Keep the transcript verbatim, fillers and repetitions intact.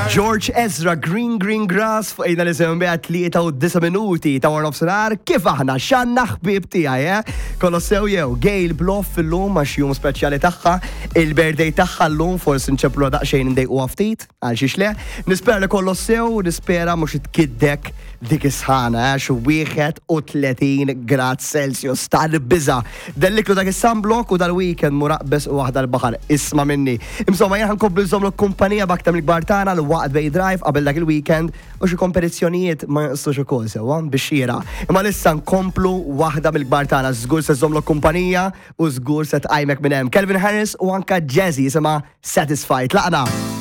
George Ezra, Green Green Grass, fuq ejna li semmi tlieta u disa' minuti ta' wara nofsinhar, kif aħna x'għandna ħbieb tiegħi, eh? Kollox sew jew, Gail Bluff illum għax jum speċjali tagħha, il-birthday tagħha llum, forsi nċemplu daqsxejn ndejqu ftit, għal xiex le. Nispera li kollox sew, nispera mhux tkiddek dik is-sħana, għax wieħed u tletin grad Celsius tal-biża. Delliklu dak is-sunblock u dal-weekend muraqbes u waħda l-baħar, isma' minni. Insomma, jien ħankomplu nżommlu kumpanija b'aktar mill-kbar tagħna l-waqt Bay Drive qabel dak il-weekend u xi kompetizzjonijiet ma jonqsux ukoll sewwa biex xira. Imma issa nkomplu waħda mill-kbar tagħna, żgur se żommlu kumpanija u żgur se tqajmek minn hemm. Calvin Harris u anka Jazzy jisimha Satisfied. Laqna.